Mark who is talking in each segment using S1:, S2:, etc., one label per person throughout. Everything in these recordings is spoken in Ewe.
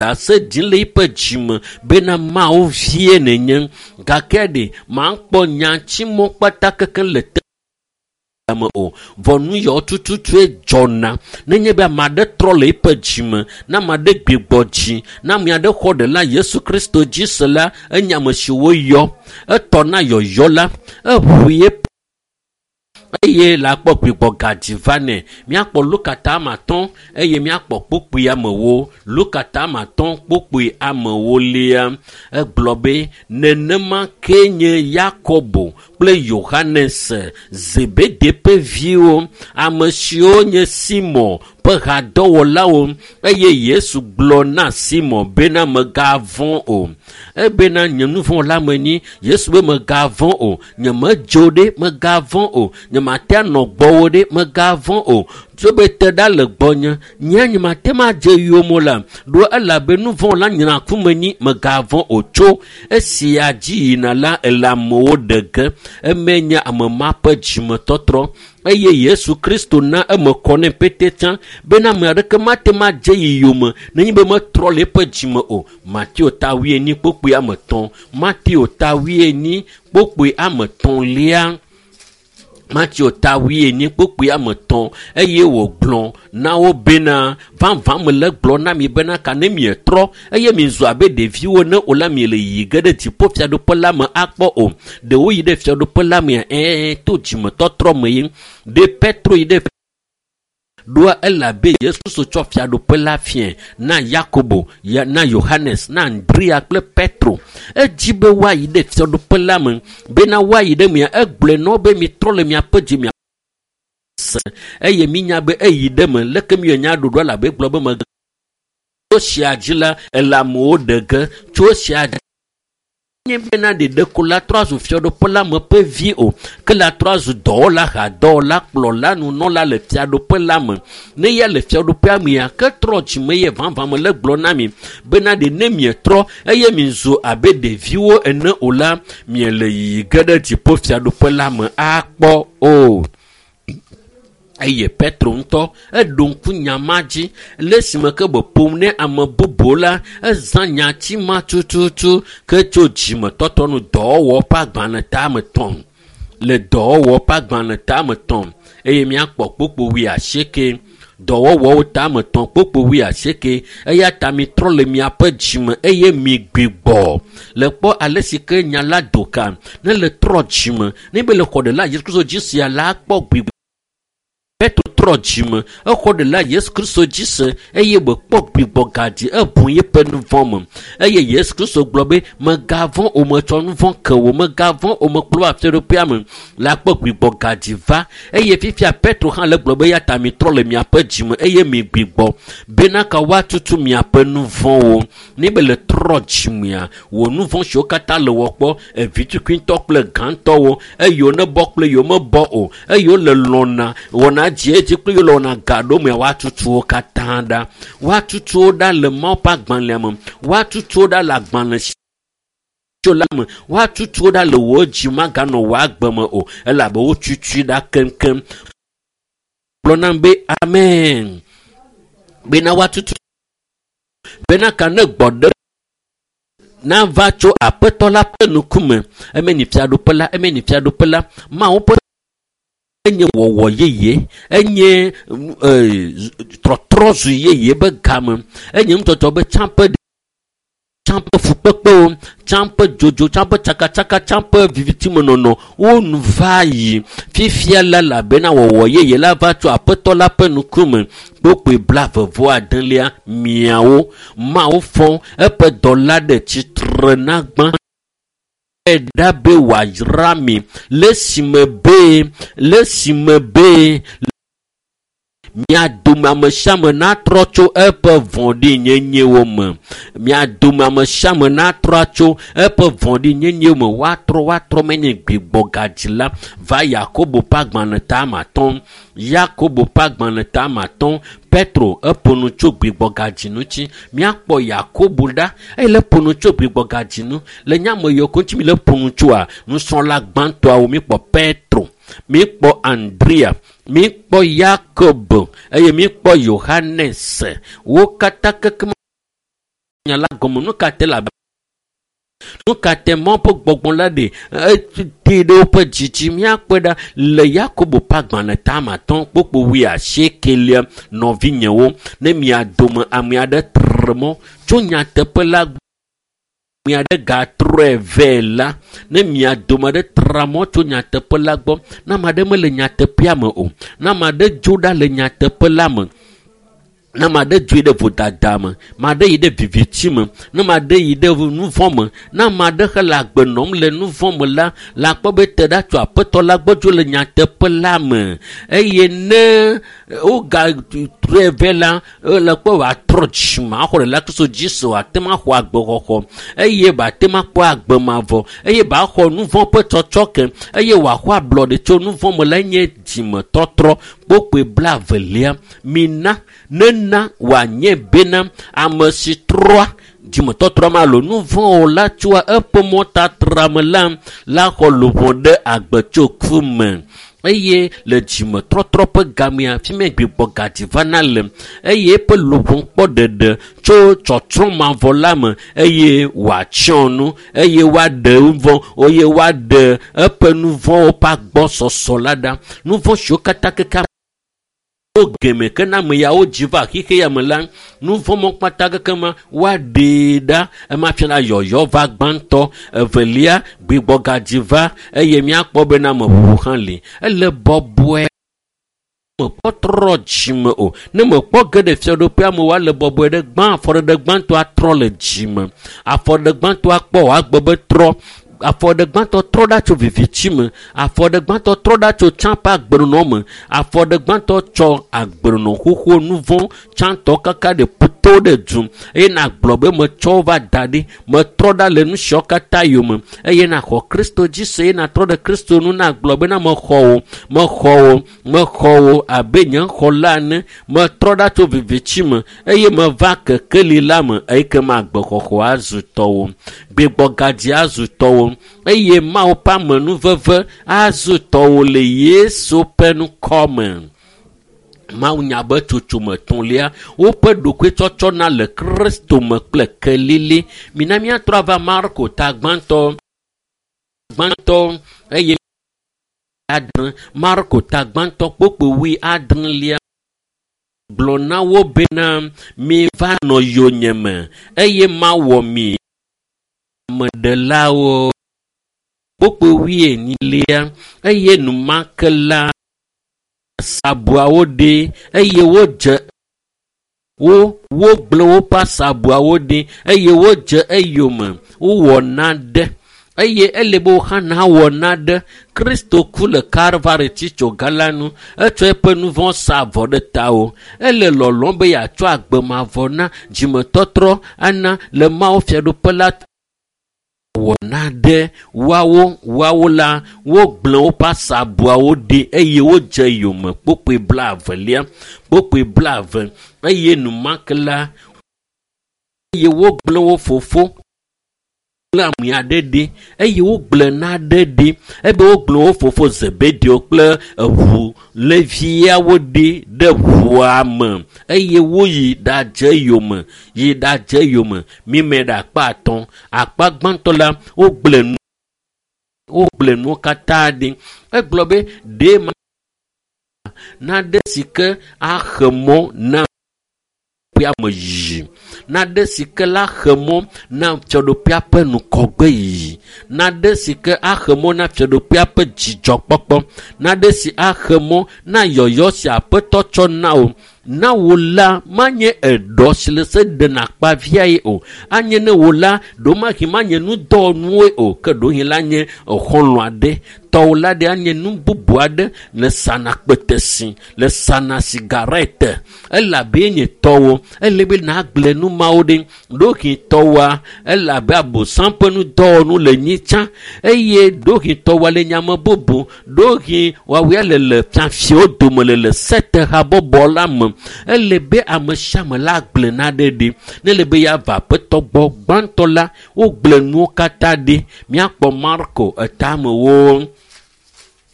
S1: Ɖase ɖim le eƒe dzime bena Mawu vie nènye. Gake ɖe makpɔ nyatsimɔ kpata kekeŋ le te me o. Vɔ nu yawo tututue dzɔna nenye be ame aɖe trɔ le eƒe dzime, ne ame aɖe gbigbɔ dzi, ne ame aɖe xɔ ɖela Yesu Kristo dzi se la, enye ame si woyɔ. Etɔ na yɔyɔ la, eʋu eƒe eye le akpɔ gbigbɔ gadzi va nɛ. Míakpɔ Luka ta ame atɔ̃ eye míakpɔ kpukpui amewo. Luka ta ame atɔ̃ kpukpui amewo lia. Egblɔ be nenema ke nye Yakobo kple Yohanes, Zebede ƒe viwo, ame siwo nye Simon ƒe hadɔwɔlawo eye Yesu gblɔ na Simon bena megavɔ̃ o. Ebena nye nu vɔ̃ la menyi. Yesu be megavɔ̃ o. Nyemedzo ɖe megavɔ̃ o. Nyemate anɔ gbɔwò ɖe megavɔ̃ o. Tso be te ɖa le gbɔnye. Nye nyemate ma dze yome la. Ɖo elabe nu vɔ̃ la nyra ku menyi megavɔ̃ o. Tso esia dzi yina la ele amewo ɖe ge. Eme nye ame ma ƒe dzimetɔtrɔ eye Yesu Kristo na eme kɔ nɛ pete tsã bena ame aɖeke mate ma dze yi yome nenye be metrɔ le eƒe dzime o. Mateo ta wuienyi kpokpoe ame etɔ̃. Mateo ta wuienyi kpokpoe ame etɔ̃lia. Mateo ta wuienyi kpokpoe ame etɔ̃ eye wògblɔ na wo bena vavã mele gblɔ na mi bena ka ne mietrɔ eye mizu abe ɖeviwo ne o la miele yiyi ge ɖe dziƒofiaɖuƒe la me akpɔ o. Ɖewo yi ɖe fiaɖuƒe la mea ɛɛ to dzimetɔtrɔ me ye. Ɖe Petro yi ɖe ɖoa elabe Yesu Kristo tsɔ fiaɖuƒe la fiae na Yakobo, na Yohanes, na Andrea kple Petro. Edzi be woayi ɖe fiaɖuƒe la me bena woayi ɖe mea egblɔe na wo be mitrɔ le miaƒe dzi mia se eye minya be eyi ɖe me leke miwɔ nya ɖoɖo elabe egblɔ be me tso sia dzi la ele amewo ɖe ge tso sia dzi nye bena ɖeɖeko la trɔ azu fiaɖuƒe la me ƒe vi o ke la trɔ azu dɔwɔla hadɔwɔla kplɔla nunɔla le fiaɖuƒe la me ne ya le fiaɖuƒea mea ke trɔ dzime ye vavã me le gblɔ na mi bena ɖe ne mietrɔ eye mizu abe ɖeviwo ene o la miele yiyi ge ɖe dziƒo fiaɖuƒe la me akpɔ o. Eye Petro ŋutɔ eɖo ŋku nya ma dzi le esime ke be ƒom ne ame bubu la ezã nyati ma tututu ke tso dzimetɔtrɔ nu dɔwɔwɔ ƒe agbalẽ ta ame etɔ̃ le dɔwɔwɔ ƒe agbalẽ ta ame etɔ̃ eye míakpɔ kpokpo wuiasieke dɔwɔwɔwo ta ame etɔ̃ kpokpo wuiasieke eya ta mitrɔ le miaƒe dzime eye migbigbɔ le kpɔ ale si ke nya la do ka ne le trɔ dzime ne be le xɔ ɖela Yesu Kristo dzi sia la kpɔ gbigbɔ. Petro trɔ dzime exɔ ɖela Yesu Kristo dzi se eye wòkpɔ gbigbɔ gadzi eʋu eƒe nu vɔ̃ me eye Yesu Kristo gblɔ be megavɔ̃ o metsɔ nu vɔ̃ ke wò megavɔ̃ o mekplɔ va fiaɖuƒea me la kpɔ gbigbɔ gadzi va eye fifia Petro hã le gblɔ be ya ta mitrɔ le miaƒe dzime eye migbigbɔ bena ka woatutu miaƒe nu vɔ̃wo ne be le trɔ dzimea wò nu vɔ̃ siwo katã le wɔ kpɔ evitukuitɔ kple gãtɔwo eye wo ne bɔ kple yewo mebɔ o eye wole lɔna wɔna dzi edzi kple yewo lɔna ga ɖo mea woatutu wo katã ɖa woatutu wo ɖa le Mawu ƒe agbalẽa me woatutu wo ɖa le agbalẽ si tso la me woatutu wo ɖa le wò dzi maganɔ wò agbe me o elabe wotutui ɖa keŋkeŋ. Gblɔ nam be amen bena woatutu bena ka ne gbɔ ɖe nava tso aƒetɔ la ƒe ŋkume eme ni fiaɖuƒe la eme ni fiaɖuƒe la Mawu ƒe enye wɔwɔ yeye enye trɔtrɔ zu yeye be game enye nutɔtɔ be tsã ƒe tsã ƒe fukpekpewo tsã ƒe dzodzo tsã ƒe tsakatsaka tsã ƒe vivitimenɔnɔ wo nu va yi fifia la elabena wɔwɔ yeye la va tso aƒetɔ la ƒe ŋkume kpokpoe blaeve-vɔ-adelia miawo Mawu fɔ eƒe dɔla ɖe tsitre na gbã ɖa be wòayra mi le esime be mia dome ame sia ame natrɔ tso eƒe vɔ̃ɖinyenyewo me mia dome ame sia ame natrɔ tso eƒe vɔ̃ɖinyenyewo me woatrɔ menye gbigbɔ gadzi la va Yakobo ƒe agbalẽ ta ame atɔ̃ Yakobo ƒe agbalẽ ta ame atɔ̃ Petro eƒo nu tso gbigbɔ gadzi ŋuti míakpɔ Yakobo ɖa eye le ƒo nu tso gbigbɔ gadzi nu le nyame yiwo ko ŋuti mi le ƒo nu tsoa nusrɔ̃la gbãtɔawo míkpɔ Petro míkpɔ Andrea míkpɔ Yakobo eye míkpɔ Yohanes wo katã kekem Nya la gɔme nu ka te la nu ka te Mawu ƒe gbɔgbɔ la ɖe ete ɖe woƒe dzi dzi. Míakpɔe ɖa le Yakobo ƒe agbalẽ tame atɔ̃ kpokpo wuiasiekelia. Nɔvinyewo, ne mia dome ame aɖe tre mɔ tso nyateƒe la ame aɖe gatrɔe vɛ la, ne mia dome aɖe tra mɔ tso nyateƒe la gbɔ, ne ame aɖe mele nyateƒea me o, ne ame aɖe dzo ɖa le nyateƒe la me, ne ame aɖe dzoe ɖe vodada me, ame aɖe yi ɖe viviti me, ne ame aɖe yi ɖe nuvɔ̃ me, ne ame aɖe hele agbe nɔm le nuvɔ̃ me la, la kpɔ be te ɖa tso aƒetɔ la gbɔ dzo le nyateƒe la me. Eye ne wogatrɔe vɛ la, le kpɔ wòatrɔ dzime axɔ ɖe la Kristo dzi se wòate ŋu axɔ agbexɔxɔ eye wòate ŋu akpɔ agbe mavɔ eye wòaxɔ nuvɔ̃ ƒe tsɔtsɔke eye wòaxɔ ablɔɖe tso nuvɔ̃ me la nye dzimetɔtrɔ. Kpokpoe blaevelia, mina nena wòanye bena ame si trɔa dzimetɔtrɔ ma alo nuvɔ̃ la tsoa eƒe mɔtatra me la la xɔ luʋɔ ɖe agbe tso ku me. Eye le dzimetɔtrɔ ƒe gamea, fi mi gbigbɔ gadzi vana le eye eƒe luʋɔ kpɔ ɖeɖe tso tsɔtsrɔ̃ mavɔ la me eye wòatsyɔ nu eye woaɖe nuvɔ̃ eye woaɖe eƒe nuvɔ̃wo ƒe agbɔsɔsɔ la ɖa. Nuvɔ̃ siwo katã keke wo geme ke na ame yawo dzi va xixe ya me la, nuvɔ̃ mɔ kpata keke ma woaɖee ɖa. Ema fia la yɔyɔ va gbãtɔ, evelia gbigbɔ gadzi va eye míakpɔ bena ameʋuʋu hã li. Ele bɔbɔe mekpɔ trɔ dzime o. Ne mekpɔ ge ɖe fiaɖuƒea me woale bɔbɔe ɖe gbã, afɔɖeɖe gbãtɔ atrɔ le dzime. Afɔɖeɖe gbãtɔ akpɔ wòagbe be trɔ. Afɔɖeɖe gbãtɔ trɔ ɖa tso viviti me. Afɔɖeɖe gbãtɔ trɔ ɖa tso tsã ƒe agbenɔnɔ me. Afɔɖeɖe gbãtɔ tsɔ agbenɔnɔ xoxo nuvɔ̃ tsãtɔ kaka ɖe ƒuto ɖe du eye nàgblɔ be metsɔ va da ɖi, metrɔ ɖa le nu siawo katã yome eye nàxɔ Kristo dzi se eye nàtrɔ ɖe Kristo nu nàgblɔ bena mexɔ wò, mexɔ wò, mexɔ wò abe nye xɔla ene, metrɔ ɖa tso viviti me eye meva kekeli la me eye ke ma agbexɔxɔ azu tɔwò, gbigbɔ gadzi azu tɔwò eye Mawu ƒe amenuveve azu tɔwò le Yesu ƒe ŋkɔ me. Mawu nya be tsotsome etɔ̃lia, woƒe ɖokuitsɔtsɔ na le Kristo me kple kelili. Mina míatrɔ ava Marko ta gbãtɔ eye adre. Marko ta gbãtɔ kpokpo wuiadrelia gblɔ na wo bena miva nɔ yonyeme eye mawɔ mi ameɖelawo. Kpokpo wuienyilia eye enumake la asabuawo ɖi eye wodze wogblẽ woƒe asabuawo ɖi eye wodze eyome wowɔ naɖe eye ele be wohã nawɔ naɖe. Kristo ku le Kalvari tsitsoga la nu, etsɔ eƒe nuvɔ̃ sa avɔ ɖe tawò. Ele lɔlɔ̃m be yeatsɔ agbe mavɔ na dzimetɔtrɔ ana le Mawu fiaɖuƒe la wɔ naɖe. Woawo la wogblẽ woƒe asabuawo ɖi eye wodze yome. Kpokpoe blaevelia, kpokpoe blaeve eye enumake la eye wogblẽ wo fofo kple ame aɖe ɖi eye wogblẽ naɖe ɖi ebe wogblẽ wo fofo Zebedeo kple eʋu leviawo ɖi ɖe ʋua me eye woyi ɖadze yome, yi ɖadze yome. Mime ɖe akpa atɔ̃. Akpa gbãtɔ la wogblẽ nuwo katã ɖi. Egblɔ be ɖe ma naɖe si ke axe mɔ na fiaɖuƒea me yiyi, naɖe si ke la xe mɔ na fiaɖuƒea ƒe ŋgɔgbe yiyi, naɖe si ke axe mɔ na fiaɖuƒea ƒe dzidzɔkpɔkpɔ, naɖe si axe mɔ na yɔyɔ si aƒetɔ tsɔ na wò. Na wò la manye eɖɔ si le se ɖena akpaviae o, anye ne wò la ɖomahi manye nudɔwɔnuwoe o, ke ɖohi la nye exɔlɔ̃ aɖe, tɔwò la ɖe anye nu bubu aɖe le sana kpetesi, le sana sigarete, elabe nye tɔwò. Ele be nàgblẽ nu mawo ɖi. Ɖohi tɔwòa elabe abosam ƒe nudɔwɔnu le nyi tsã eye ɖohi tɔwòa le nyame bubu, ɖohi woawoe le le fiafiwo dome le le sete habɔbɔ la me. Ele be ame sia ame la gblẽ naɖe ɖi. Ne ele be yeava aƒetɔ gbɔ gbãtɔ la, wogblẽ nuwo katã ɖi. Míakpɔ Marko etamewo.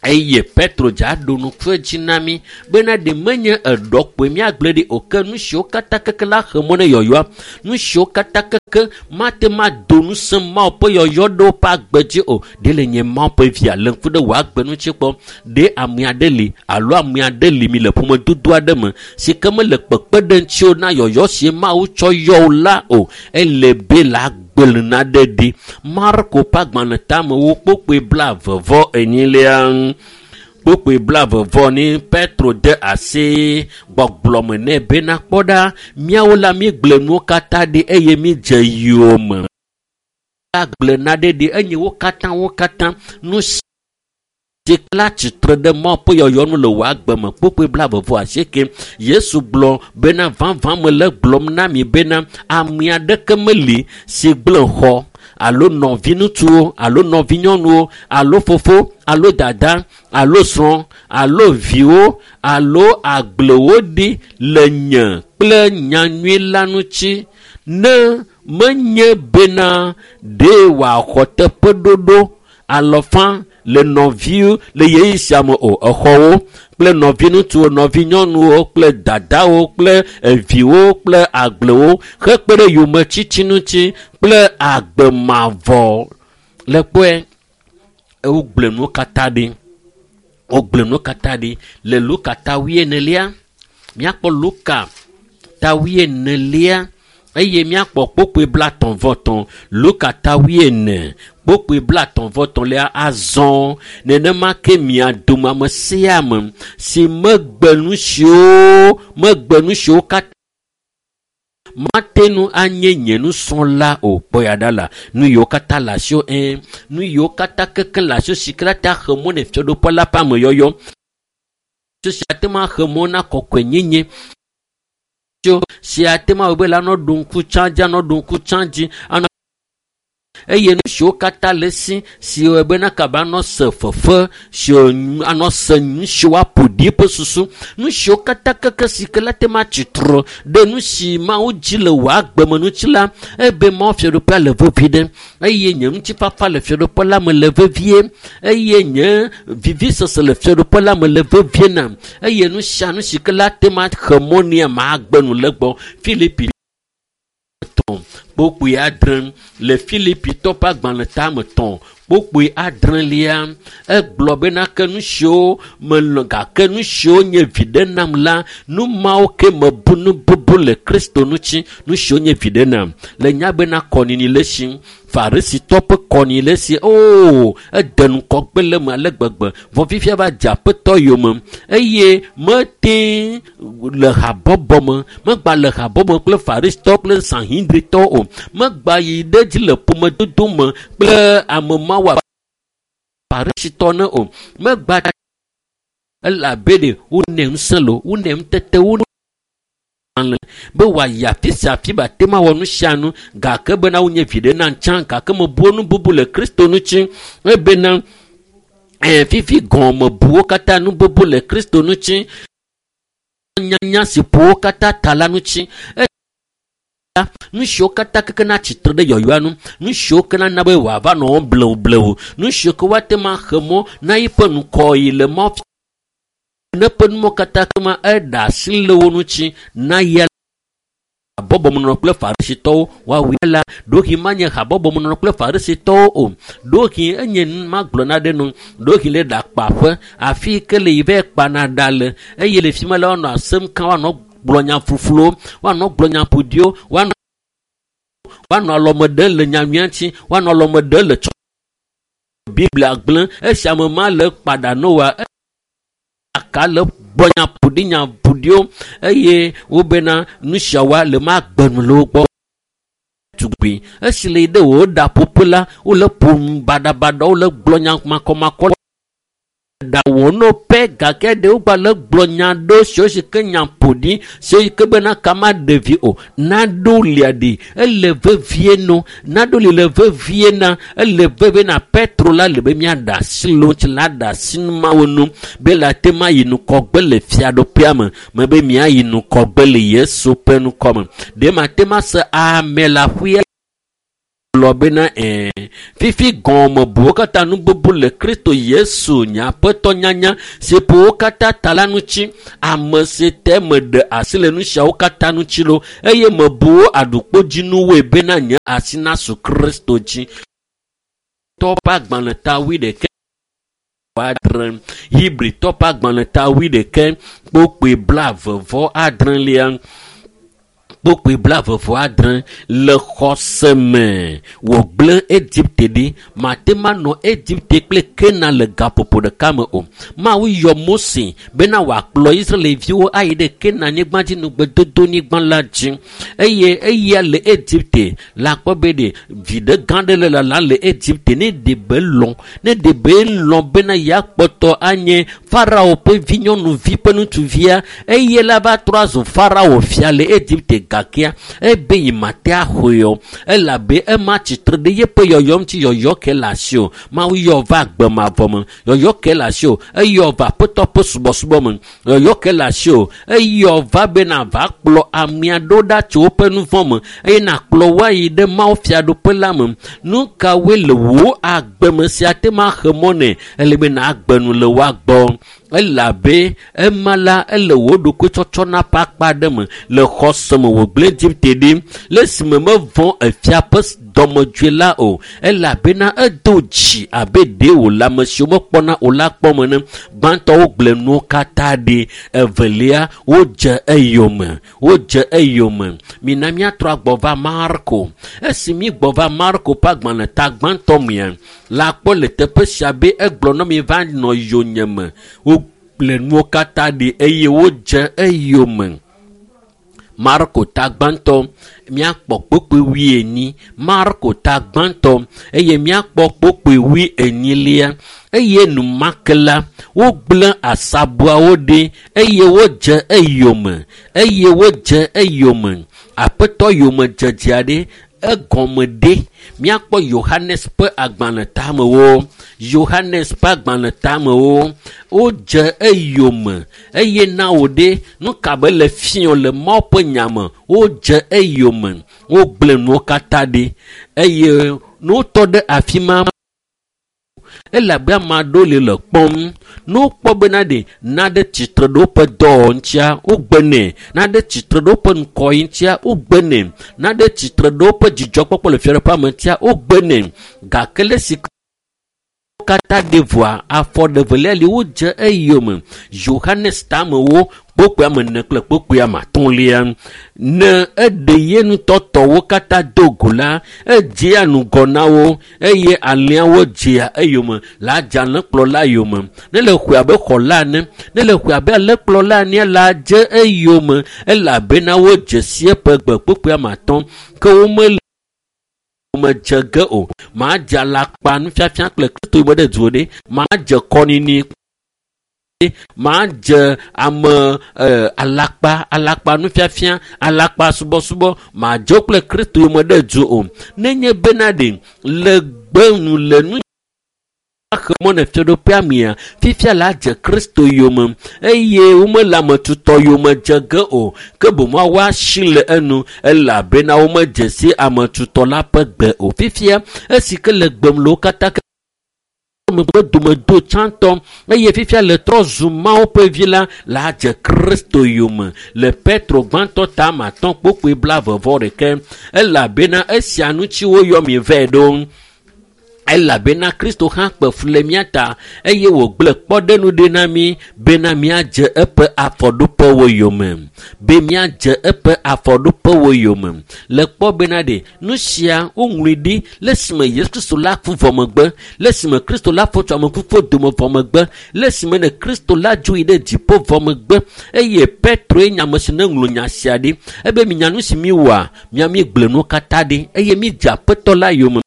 S1: Eye Petro dza ɖo nuku edzi na mí bena ɖe menye eɖɔ kpoe míagblẽ ɖi o ke nu siwo katã keke la xe mɔ ne yɔyɔa, nu siwo katã keke mate ma do ŋusẽ Mawu ƒe yɔyɔ ɖe woƒe agbe dzi o. Ɖe le nye Mawu ƒe via le ŋku ɖe wò agbe ŋuti kpɔ. Ɖe ame aɖe li alo ame aɖe li mi le ƒomedodo aɖe me si ke mele kpekpe ɖe ŋutiwò na yɔyɔ si Mawu tsɔ yɔ wò la o. Ele be le agbe naɖe ɖi. Marko ƒe agbalẽ tamewo kpokpoe 42. Kpokpoe 42 Petro de asi gbɔgblɔ me nɛ bena kpɔ ɖa, míawo la míegblẽ nuwo katã ɖi eye mídze yome. Agblẽ naɖe ɖi enye wo katã wo katã nu si la tsitre ɖe Mawu ƒe yɔyɔ nu le wò agbe me. Kpokpoe 28. Yesu gblɔ bena vavã mele gblɔm na mi bena ame aɖeke meli si gblẽ xɔ alo nɔviŋutsuwo alo nɔvinyɔnuwo alo fofo alo dada alo srɔ̃ alo viwo alo agblewo ɖi le nye kple nyanyui la ŋuti ne menye bena ɖe wòaxɔ teƒeɖoɖo alɔfa le nɔviwo le ɣeyiɣi sia me o. Exɔwo kple nɔviŋutsuwo, nɔvinyɔnuwo kple dadawo kple eviwo kple agblewo hekpe ɖe yometsitsi ŋuti kple agbe mavɔ. Le kpɔe, wogblẽ nuwo katã ɖi. Wogblẽ nuwo katã ɖi le Luka ta 40. Míakpɔ Luka ta 40 eye míakpɔ kpokpoe 33. Luka ta 40 kpokpoe 33 azɔ nenema ke mia dome ame sia ame si megbe nu siwo megbe nu siwo katã mate ŋu anye nye nusrɔ̃la o. Kpɔ ya ɖa la, nu yiwo katã le asiwò nu yiwo katã keke le asiwò si ke la ta xe mɔ ne fiaɖuƒe la ƒe ameyɔyɔ. Si ate ŋu axe mɔ na kɔkɔenyenye. Si ate ŋu awɔe be la nɔ ɖo ŋku tsã dzi, anɔ ɖo ŋku tsã dzi, anɔ eye nu siwo katã le esi si wɔe bena kaba anɔ se fefe, si anɔ se nu siwo aƒo ɖi eƒe susu, nu siwo katã keke si ke la te ma tsitre ɖe nu si Mawu dzi le wò agbe me ŋuti la, ebe Mawu fiaɖuƒea le vevi ɖe eye nye ŋutifafa le fiaɖuƒe la me le vevie eye nye vivisese le fiaɖuƒe la me le vevie nam eye nu sia nu si ke la te ma xe mɔ nea magbe nu le gbɔ. Filipi 3 kpokpoe 6 le Filipitɔ ƒe agbalẽ tame 3 kpokpoe 6 egblɔ bena ke nu siwo melɔ̃ gake nu siwo nye viɖe nam la, nu mawo ke mebu nu bubu le Kristo ŋuti, nu siwo nye viɖe nam. Le nya bena kɔnini le esi, Farisitɔ ƒe kɔnini le esi, oo, ede ŋkɔgbe le eme ale gbegbe, vɔ fifia va dze aƒetɔ yome eye mete le habɔbɔ me, megba le habɔbɔ kple Farisitɔ kple Sanhedritɔ o, megba yi ɖe dzi le ƒomedodo me kple ame mawo Farisitɔ ne o, megba elabe ɖe wonɛ ŋusẽ lo, wonɛ ŋutete, wonɛ be wòayi afi sia afi be ate ma wɔ nu sia nu gake bena wonye viɖe nam tsã gake mebu nu bubu le Kristo ŋuti ebena fifi gɔ̃ mebu wo katã nu bubu le Kristo ŋuti nyanya si ƒo wo katã ta la ŋuti. Nu siwo katã keke na tsitre ɖe yɔyɔa nu, nu siwo ke nana be wòava nɔ wɔm blewublewu, nu siwo ke woate ma xe mɔ na eƒe ŋkɔyiyi le mɔ ne ƒe numɔ katã ke ma eɖe asi le wo ŋuti na ya habɔbɔmenɔnɔ kple Farisitɔwo woawui la. Ɖohi manye habɔbɔmenɔnɔ kple Farisitɔwo o. Ɖohi enye magblɔ na ɖe nu. Ɖohi le ɖakpaƒe afi ke le yi va kpana ɖa le eye le fi ma la woanɔ asem ka woanɔ gblɔ nya fufluwo, woanɔ gblɔ nya ƒoɖiwo, woanɔ alɔme ɖem le nyanyuia ŋuti, woanɔ alɔme ɖem le tsɔ Biblia gblẽ esi ame ma le kpaɖa Noa aka le gblɔ nya ƒoɖi nya ƒoɖiwo eye wobena nu siawoa le magbe nu le wo gbɔ. Tugbi esi le yi ɖe wò ɖaƒoƒe la, wole ƒo nu baɖabaɖa, wole gblɔ nya makɔmakɔ ɖa wɔ no pɛ gake ɖe wogba le gblɔ nya ɖewo siwo si ke nya ƒoɖi siwo yi ke bena kama ɖevi o. Naɖo lia ɖi ele vevie no, naɖo li le vevie na, ele vevie na Petro la le be míaɖe asi le wo ŋuti la ɖe asi numawo nu be la te ma yi ŋkɔgbe le fiaɖuƒea me, me be míayi ŋkɔgbe le Yesu ƒe ŋkɔ me. Ɖe mate ma se ame le aƒea Egblɔ bena fifi gɔmebuwo katã nu bubu le Kristo Yesu nye Aƒetɔ nyanya si ƒo wo katã ta la ŋuti. Ame si te meɖe asi le nu siawo katã ŋuti lo eye mebu wo aɖukpodzinuwoe bena nye asi nasu Kristo dzi. Tɔ ƒe agbalẽ ta 16. Hebritɔ ƒe agbalẽ ta 21 kpokpoe 29. Kpokpoe 26 le xɔse me wògblẽ Egipte ɖi. Mate manɔ Egipte kple Kena le gaƒoƒo ɖeka me o. Mawu yɔ Mose bena wòakplɔ Israelviwo ayi ɖe Kena nyigba dzi nugbedodonyigba la dzi eye eya le Egipte la kpɔ be ɖe viɖe gã ɖe le lala le Egipte ne ɖe be lɔ̃ bena yeakpɔtɔ anye Farao ƒe vinyɔnuvi ƒe ŋutsuvia eye la va trɔ azu Farao fia le Egipte gakea ebe yi mate axɔe o elabe ema tsitre ɖe yeƒe yɔyɔ ŋuti yɔyɔ ke le asi o. Mawu yɔ va agbe mavɔ me yɔyɔ ke le asi o. Eyɔ va Aƒetɔ ƒe subɔsubɔ me yɔyɔ ke le asi o. Eyɔ va bena va kplɔ amea ɖo ɖa tso woƒe nu vɔ̃ me eye nakplɔ wo ayi ɖe Mawu fiaɖuƒe la me. Nu kawoe le wò agbe me sia te ma xe mɔ nɛ? Ele be nàgbe nu le woa gbɔ elabe ema la ele wò ɖokuitsɔtsɔna ƒe akpa ɖe me le xɔse me wògblẽ Egipte ɖi le esime mevɔ̃ efia ƒe dɔmedzoe la o elabena edo dzi abe ɖe wòle ame siwo mekpɔna o la kpɔm ene. Gbãtɔwo gblẽ nuwo katã ɖi, evelia wodze eyome. Mina míatrɔ agbɔ va Marko. Esi mígbɔ va Marko ƒe agbalẽ ta gbãtɔ mea la kpɔ le teƒe sia be egblɔ na mi va nɔ yonyeme. Wogblẽ nuwo katã ɖi eye wodze eyome. Marko ta gbãtɔ míakpɔ kpokpoe 40. Marko ta gbãtɔ eye míakpɔ kpokpoe 40. Eye enumake la wogblẽ asabuawo ɖi eye wodze eyome. Aƒetɔ yomedzedzea ɖe egɔme ɖe. Míakpɔ Yohanes ƒe agbalẽ tamewo. Wodze eyome eye na wò ɖe nu ka be le fiɔ le Mawu ƒe nya me. Wodze eyome, wogblẽ nuwo katã ɖi eye ne wotɔ ɖe afi ma elabe ame aɖewo le le kpɔm. Ne wokpɔ bena ɖe naɖe tsitre ɖe woƒe dɔwɔwɔ ŋutia wogbenɛ, naɖe tsitre ɖe woƒe ŋkɔyi ŋutia wogbenɛ, naɖe tsitre ɖe woƒe dzidzɔkpɔkpɔ le fiaɖuƒea me ŋutia wogbenɛ. Gake le esi katã ɖe vɔa afɔ ɖevelia li wodze eyome. Yohanes tamewo kpokpoe ame 4 kple kpokpoe ame 5. Ne eɖe ye ŋutɔ tɔwo katã do go la, edzea ŋgɔ na wo eye alẽawo dzea eyome la dze alẽkplɔla yome. Ne le xɔe abe xɔla ene, ne le xɔe abe alẽkplɔla ene la dze eyome elabena wodze si eƒe gbe kpokpoe ame 5 ke womele medze ge o. Madze alakpa nufiafia kple Kristo yome ɖe du ɖe, madze kɔnini, madze ame alakpa nufiafia, alakpa subɔsubɔ, madze kple Kristo yome ɖe du o. Nenye bena ɖe le gbe nu le nu axe mɔ ne fiaɖuƒea mea, fifia la dze Kristo yome eye womele ame tutɔ yome dze ge o, ke boŋ woasi le enu elabena womedze si ame tutɔ la ƒe gbe o. Fifia esi ke le gbem le wo katã ke ƒe dome do tsãtɔ eye fifia le trɔ zu Mawu ƒe vi la la dze Kristo yome le Petro gbãtɔ ta ame 5 kpokpoe 21 elabena esia ŋuti woyɔ mi vɛ ɖo. Elabena Kristo hã kpe fu le mía ta eye wògblẽ kpɔɖeŋu ɖi na mí bena míadze eƒe afɔɖoƒewo yome. Le kpɔ bena ɖe nu sia woŋlɔe ɖi le esime Yesu Kristo la ku vɔ megbe, le esime Kristo la fɔ tso ame kukuwo dome vɔ megbe, le esime ne Kristo la dzo yi ɖe dziƒo vɔ megbe eye Petroe nye ame si ne ŋlɔ nya sia ɖi ebe minya nu si miwɔa, mia migblẽ nuwo katã ɖi eye midze Aƒetɔ la yome.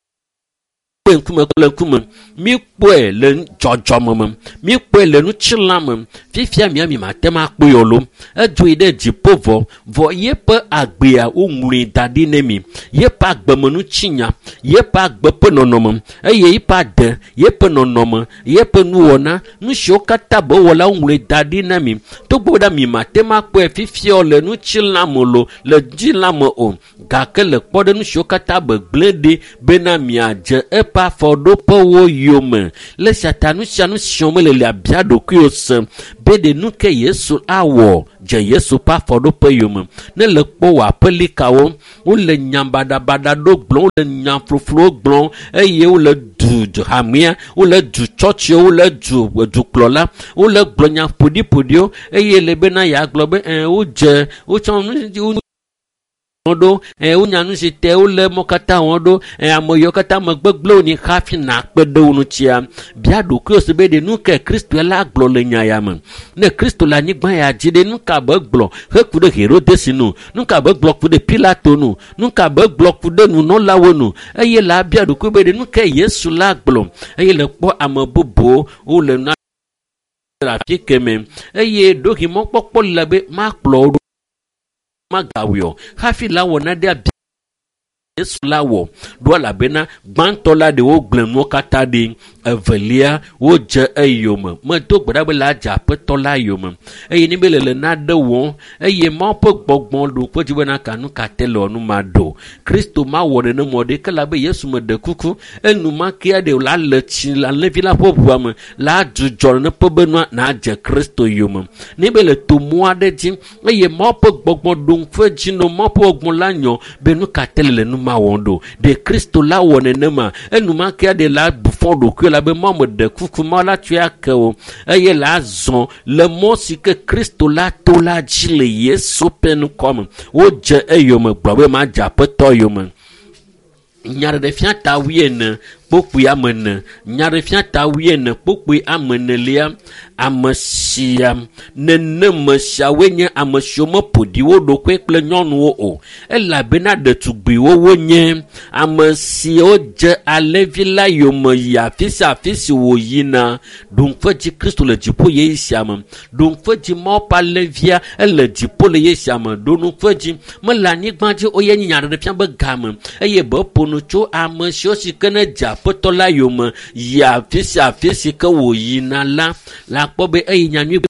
S1: Kpɔe ŋkume kple ŋkume. Míkpɔe le dzɔdzɔme me. Míkpɔe le ŋutilã me. Fifia mía mi mate ŋu akpɔe o lo. Edzo yi ɖe dziƒo vɔ. Vɔ yeƒe agbea woŋlɔe da ɖi ne mi. Yeƒe agbemenutsinya, yeƒe agbe ƒe nɔnɔme eye yeƒe ade, yeƒe nɔnɔme, yeƒe nuwɔna, nu siwo katã be wɔ la woŋlɔe da ɖi na mi. Togbɔ be mi mate ŋu akpɔe fifia o le ŋutilã me lo, le ŋutilã me o. Gake le kpɔɖeŋu siwo katã be gblẽ ɖi bena miadze eƒe afɔɖoƒewo yome. Le esia ta nu sia nu si wɔm mele le abia ɖokuiwò se be ɖe nu ke Yesu awɔ dze Yesu ƒe afɔɖoƒe yome. Ne le kpɔ wò aƒelikawo, wole nya baɖabaɖa ɖo gblɔm, wole nya floflowo gblɔm eye wole du hamea, wole du tsɔtsiwo, wole du dukplɔla, wole gblɔ nya ƒoɖiƒoɖiwo eye le bena yeagblɔ be ɛɛ wodze wotsɔ nu ɖo ɛ wonya nu si te wole mɔ katã wɔm ɖo ɛ ame yiwo katã me gbegblẽwo ni hafi nakpe ɖe wo ŋutia bia ɖokuiwò se be ɖe nu ke Kristo la gblɔ le nya ya me ne Kristo le anyigba ya dzi ɖe nu ka be gblɔ heku ɖe Herodes nu nu ka be gblɔ ku ɖe Pilato nu nu ka be gblɔ ku ɖe nunɔlawo nu eye la bia ɖokuiwò be ɖe nu ke Yesu la gblɔ eye le kpɔ ame bubuwo wole na le afi keme eye ɖohi mɔkpɔkpɔ le be makplɔ wo ɖo magawɔe o hafi la wɔ naɖe abia Yesu la wɔ ɖo elabena gbãtɔ la ɖe wogblẽ nuwo katã ɖi evelia wodze eyome medo gbe ɖa be la dze aƒetɔ la yome eye ne be le le naɖe wɔm eye Mawu ƒe gbɔgbɔ ɖo kpe dzi bena ka nu ka te le nu ma ɖo Kristo mawɔ nenema o ɖe ke la be Yesu meɖe kuku enumakea ɖe la le tsi le alẽvi la ƒe ʋua me la dzudzɔ neƒe be nua nadze Kristo yome ne be le to mɔ aɖe dzi eye Mawu ƒe gbɔgbɔ ɖo ŋku edzi no Mawu ƒe gbɔgbɔ la nyɔ be nu ka te le nu ma wɔm ɖo ɖe Kristo la wɔ nenema enumakea ɖe la bu fɔ ɖokuiwò la be Mawu meɖe kuku Mawu la tsɔe ake o eye la zɔ le mɔ si ke Kristo la to la dzi le Yesu ƒe ŋkɔ me wodze eyome gblɔ be madze aƒetɔ yome. Nyaɖeɖefia ta wuiene kpokpui ame ene nyaɖeɖefia ta wuiene kpokpui ame enelia ame sia neneme siawoe nye ame siwo meƒo ɖi wo ɖokui kple nyɔnuwo o elabena ɖetugbiwo wonye ame siwo dze alẽvi la yome yi afi sia afi si wòyina ɖoŋƒe dzi Kristo le dziƒo ɣeyiɣi sia me ɖoŋƒe dzi Mawu ƒe alẽvia ele dziƒo le ɣeyiɣi sia me ɖoŋƒe dzi mele anyigba dzi o ye nye nyaɖeɖefia be game eye be ƒo nu tso ame siwo si ke ne dze aƒetɔ la yome yi afi sia afi si ke wòyina la la kpɔ be eyi nyanyui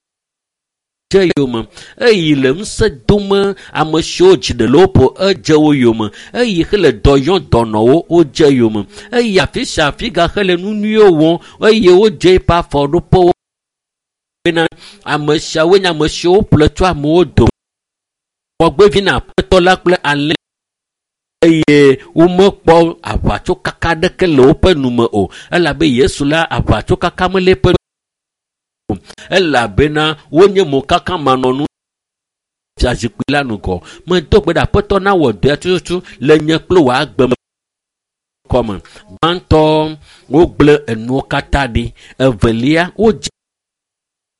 S1: dze yome eyi le ŋusẽ dome ame siwo dzi ɖe le woƒo edze wo yome eyi hele dɔ yɔm dɔnɔwo wodze yome eyi afi sia afi gaxe le nu nyuiwo wɔm eye wodze eƒe afɔɖoƒewo bena ame siawoe nye ame siwo ƒle tso amewo dome xɔgbevi na aƒetɔ la kple alẽ eye womekpɔ aʋatsokaka aɖeke le woƒe nume o elabe Yesu la aʋatsokaka mele eƒe o elabena wonye mokaka manɔnu fiazikpui la ŋgɔ medo gbe ɖe aƒetɔ nawɔ dɔa tututu le nye kple wò agbe me kɔme gbãtɔ wogblẽ enuwo katã ɖi evelia wodze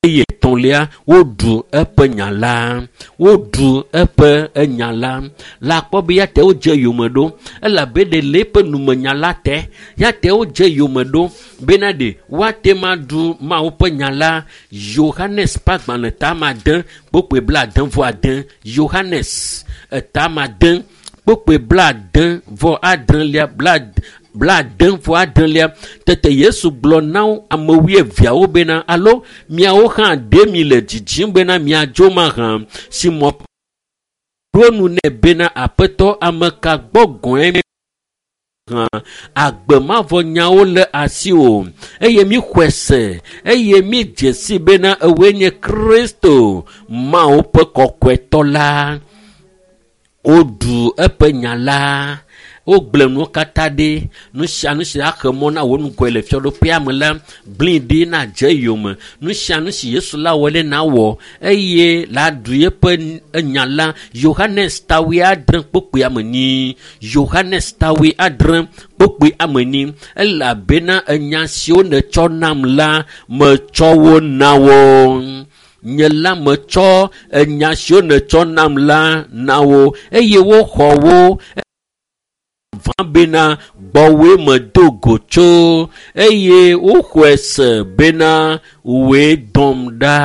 S1: eye etɔ̃lia woɖu eƒe nya la woɖu eƒe enya la la kpɔ be ya te wodze yome ɖo elabe ɖe le eƒe numenya la te ya te wodze yome ɖo bena ɖe woate ma ɖu Mawu ƒe nya la Yohanes ƒe agbalẽ ta ade kpokpoe 70 Yohanes eta ade kpokpoe 76 76 tete Yesu gblɔ na ame wuieveawo bena alo miawo hã ɖe mi le dzidzim bena miadzo mahã Simɔn ɖo nu nɛ bena aƒetɔ ame ka gbɔ gɔ̃e hã agbe mavɔ nyawo le asiwò eye míxɔe se eye mídze si bena ewoe nye Kristo Mawu ƒe kɔkɔetɔ la. Woɖu eƒe nya la wogblẽ nuwo katã ɖi nu sia nu si axe mɔ na wò ŋgɔe le fiaɖuƒea me la gblẽe ɖi nadze yome nu sia nu si Yesu la wɔ ɖe nawɔ eye la ɖu yeƒe enya la Yohanes ta 70 kpokpui ame enyi Yohanes ta 70 kpokpui ame enyi elabena enya siwo nètsɔ nam la metsɔ wo na wo nye la metsɔ enya siwo nètsɔ nam la na wo eye woxɔ wo vavã bena gbɔwòe medo go tso eye woxɔe se bena wòe dɔm ɖa.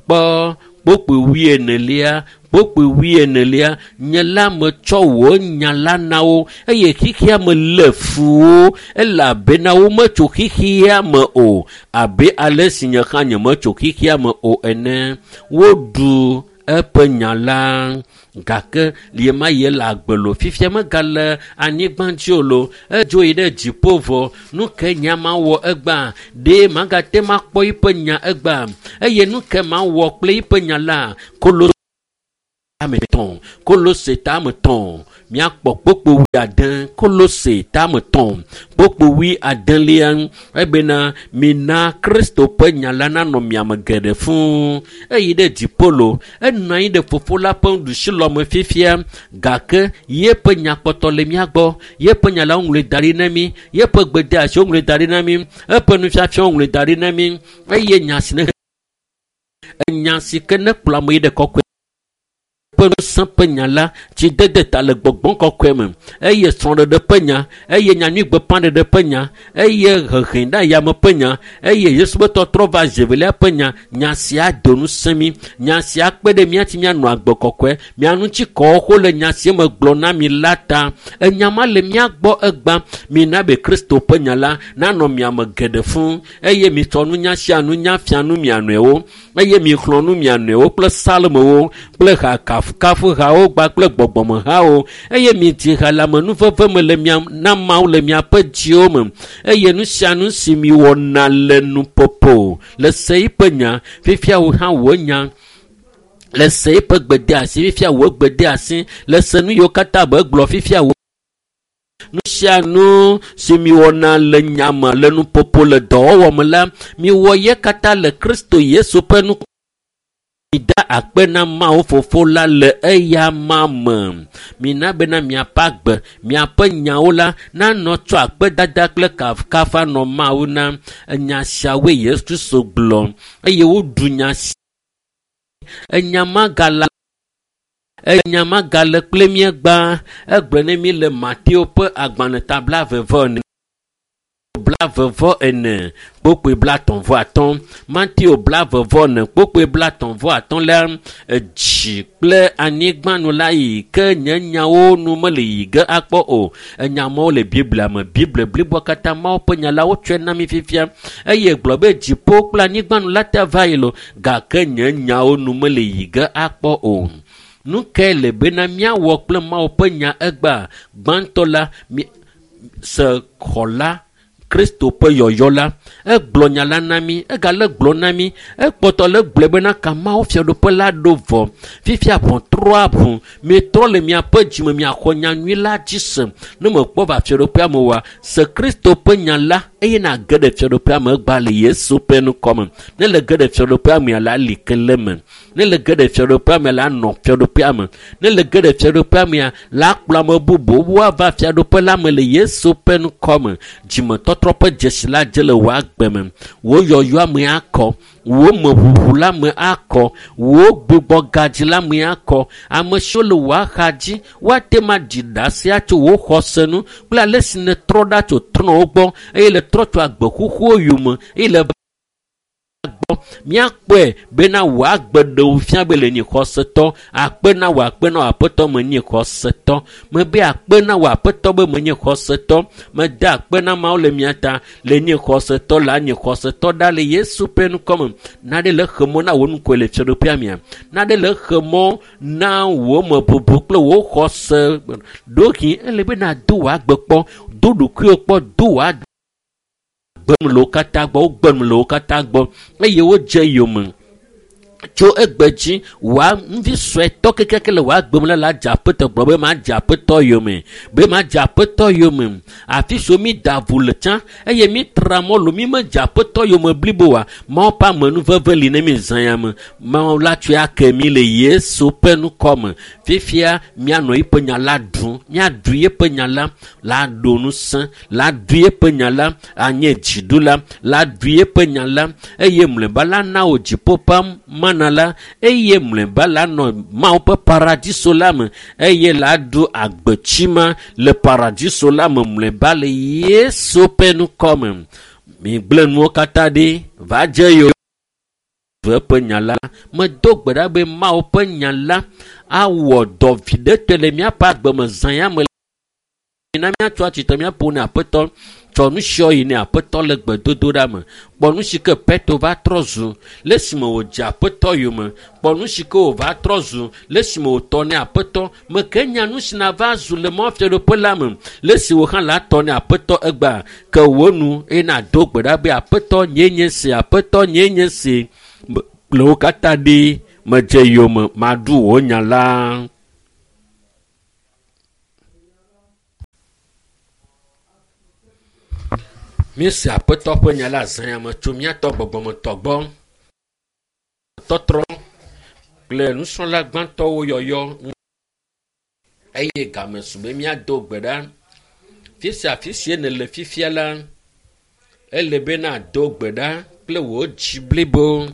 S1: Kpɔ kpokpoe wuienelia, kpokpoe wuienelia, nye la metsɔ wò nya la na wo eye xexea me lé fu wo elabena wometso xexea me o abe ale si nye hã nyemetso xexea me o ene. Woɖu eƒe nya la gake ɣemaɣi le agbe lo fifia megale anyigba dzi o lo edzo yi ɖe dziƒo vɔ. Nu ke nya ma wɔ egbea? Ɖe magate makpɔ eƒe nya egbea? Eye nu ke mawɔ kple eƒe nya la? Kolose Kolose tame tɔ̃ míakpɔ kpokpo wuiade. Kolose tame tɔ̃ kpokpo wuiadelia ebena mina Kristo ƒe nya la nanɔ miame geɖe fũu. Eyi ɖe dziƒo lo, enɔ anyi ɖe fofo la ƒe nuɖusilɔme fifia gake yeƒe nya kpɔtɔ le mía gbɔ. Yeƒe nya la woŋlɔe da ɖi na mí. Yeƒe gbedeasi woŋlɔe da ɖi na mí. Eƒe nufiafia woŋlɔe da ɖi na mí. Eye nya si ne enya si ke ne kplɔ ame yi ɖe kɔkɔe ƒe ŋusẽ ƒe nya la tsidede ta le gbɔgbɔ kɔkɔe me eye srɔ̃ɖeɖe ƒe nya eye nyanyuigbeƒãɖeɖe ƒe nya eye hehe ɖe ayame ƒe nya eye Yesu ƒe tɔtrɔ va zevelia ƒe nya nya sia do ŋusẽ mí nya sia kpe ɖe mía ŋuti míanɔ agbe kɔkɔe mía ŋuti kɔwo le nya si me gblɔ na mi la ta enya ma le mía gbɔ egbã mina be Kristo ƒe nya la nanɔ mia me geɖe fũu eye mitsɔ nunya sia nunya fia nu mia nɔewo eye mixlɔ̃ nu mia nɔewo kple psalmowo kple ha kafukafuhawo kpakple gbɔgbɔmehawo eye midzi ha le amenuveve me le mia na Mawu le miaƒe dziwo me eye nu sia nu si miwɔna le nuƒoƒo le se yiƒe nya fifia wò hã wò nya le se yiƒe gbedeasi fifia wò gbedeasi le se nu yiwo katã be gblɔ fifia wò nu sia nu si miwɔna le nyame le nuƒoƒo le dɔwɔwɔ me la miwɔ ye katã le Kristo Yesu ƒe nu mida akpe na Mawu fofo la le eya ma me. Mina bena miaƒe agbe, miaƒe nyawo la nanɔ tsɔ akpedada kple kafukafu nɔ Mawu na. Enya siawoe Yesu Kristo gblɔ eye woɖu nya si enya ma gala enya ma gale kple mí gbã. Egblɔ ne mí le Mateo ƒe agbalẽ ta 24 44 kpokpoe 35. Mateo 44 kpokpoe 35 la dzi kple anyigba nu la yi ke nye nyawo nu mele yi ge akpɔ o. Enya mawo le Biblia me. Biblia bliboa katã Mawu ƒe nya la wotsɔe na mí fifia eye gblɔ be dziƒo kple anyigba nu la te va yi lo gake nye nyawo nu mele yi ge akpɔ o. Nu kae le bena míawɔ kple Mawu ƒe nya egbea? Gbãtɔ la se xɔla Kristo ƒe yɔyɔ la egblɔ nya la na mí egale gblɔ na mí ekpɔtɔ le gblɔe bena ka Mawu fiaɖuƒe la ɖo vɔ fifia ʋɔtrɔa ʋu mitrɔ le miaƒe dzime miaxɔ nyanyui la dzi se ne mekpɔ va fiaɖuƒea me oa se Kristo ƒe nya la eye nage ɖe fiaɖuƒea me egbea le Yesu ƒe ŋkɔ me ne le ge ɖe fiaɖuƒea mea la li ke le me ne le ge ɖe fiaɖuƒea me la nɔ fiaɖuƒea me ne le ge ɖe fiaɖuƒea mea la kplɔ ame bubuwo woava fiaɖuƒe la me le Yesu ƒe ŋkɔ me dzimetɔtrɔ ƒe dzesi la dze le wò agbe me wò yɔyɔa me akɔ wò meʋuʋu la me akɔ wò gbugbɔgadzi la me akɔ ame siwo le wò axa dzi woate ma ɖi ɖase atso wò xɔse nu kple ale si nètrɔ ɖa tso trɔ̃wo gbɔ eye le trɔ tso agbe xoxowo yome eye le gbɔ míakpɔe bena wò agbe ɖewo fia be le nyi xɔsetɔ akpe na wò akpe na wò aƒetɔ menye xɔsetɔ mebe akpe na wò aƒetɔ be menye xɔsetɔ mede akpe na Mawu le mia ta le nye xɔsetɔ la nye xɔsetɔ ɖa le Yesu ƒe ŋkɔ me naɖe le xe mɔ na wò ŋkɔe le fiaɖuƒea mea naɖe le xe mɔ na wò mebubu kple wò xɔse ɖohi ele be nado wò agbe kpɔ do ɖokuiwò kpɔ do wò agbe gbem le wo katã gbɔ wogbem le wo katã gbɔ eye wodze yome tso egbe dzi wòa ŋuvi suetɔ kekeake le wòa gbem la la dze aƒetɔ gblɔ be madze aƒetɔ yome be madze aƒetɔ yome afi siwo mi da ʋu le tsã eye mi tra mɔ lo mi medze aƒetɔ yome blibo wa Mawu ƒe amenuveve li ne mi zã ya me Mawu la tsɔe ake mi le Yesu ƒe ŋkɔ me fifia mianɔ yeƒe nya la ɖum miaɖu yeƒe nya la la ɖo ŋusẽ la ɖu yeƒe nya la anye dziɖula la ɖu yeƒe nya la eye mlɔeba la na wò dziƒo ƒe mana. mena la, eye mlɔeba la nɔ Mawu ƒe paradiso la me, eye la ɖu agbetsi ma le paradiso la me mlɔeba le Yesu ƒe ŋkɔ me. Migblẽ nuwo katã ɖi va dze yo ƒe nya la. Medo gbe ɖa be Mawu ƒe nya la awɔ dɔ viɖetɔe le míaƒe agbe me zã ya me. Na míatso atsitre míaƒo ne Aƒetɔ. Tsɔ nu siawo yi ne Aƒetɔ le gbedodoɖa me. Kpɔ nu si ke Petro va trɔ zu le esime wòdze Aƒetɔ yome. Kpɔ nu si ke wòva trɔ zu le esime wòtɔ ne Aƒetɔ. Meke nya nu si nava zu le mɔfiaɖoƒe la me le esi wò hã la tɔ ne Aƒetɔ egbea. Ke wò nu eye nàdo gbe ɖa be Aƒetɔ nyee nye si, Aƒetɔ nyee nye si. Kple wo katã ɖi medze yome maɖu wò nya la. Míese Aƒetɔ ƒe nya la zã ya me tso míatɔ gbɔgbɔmetɔ gbɔ. Tɔtrɔ kple nusrɔ̃la gbãtɔwo yɔyɔ eye game su be míado gbe ɖa. Fi sia fi si nèle fifia la, ele be nàdo gbe ɖa kple wò dzi blibo.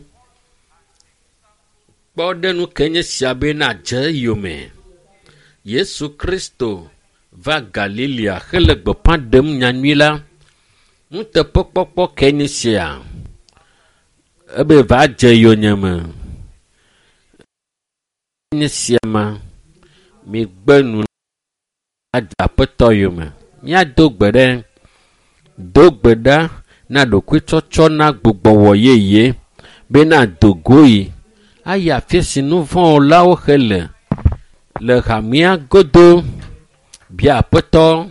S1: Kpɔ ɖe nu ke nye sia be nàdze yome. Yesu Kristo va Galilea hele gbeƒã ɖem nyanyui la. Nuteƒekpɔkpɔ ke nye sia. Ebe va dze yonyeme. Nye sia ma, migbe nu adze Aƒetɔ yome. Míado gbe ɖe. Do gbe ɖa na ɖokuitsɔtsɔ na gbugbɔwɔ yeye be nàdo go yi ayi afi si nu vɔ̃wɔlawo hele le hamea godo. Bia Aƒetɔ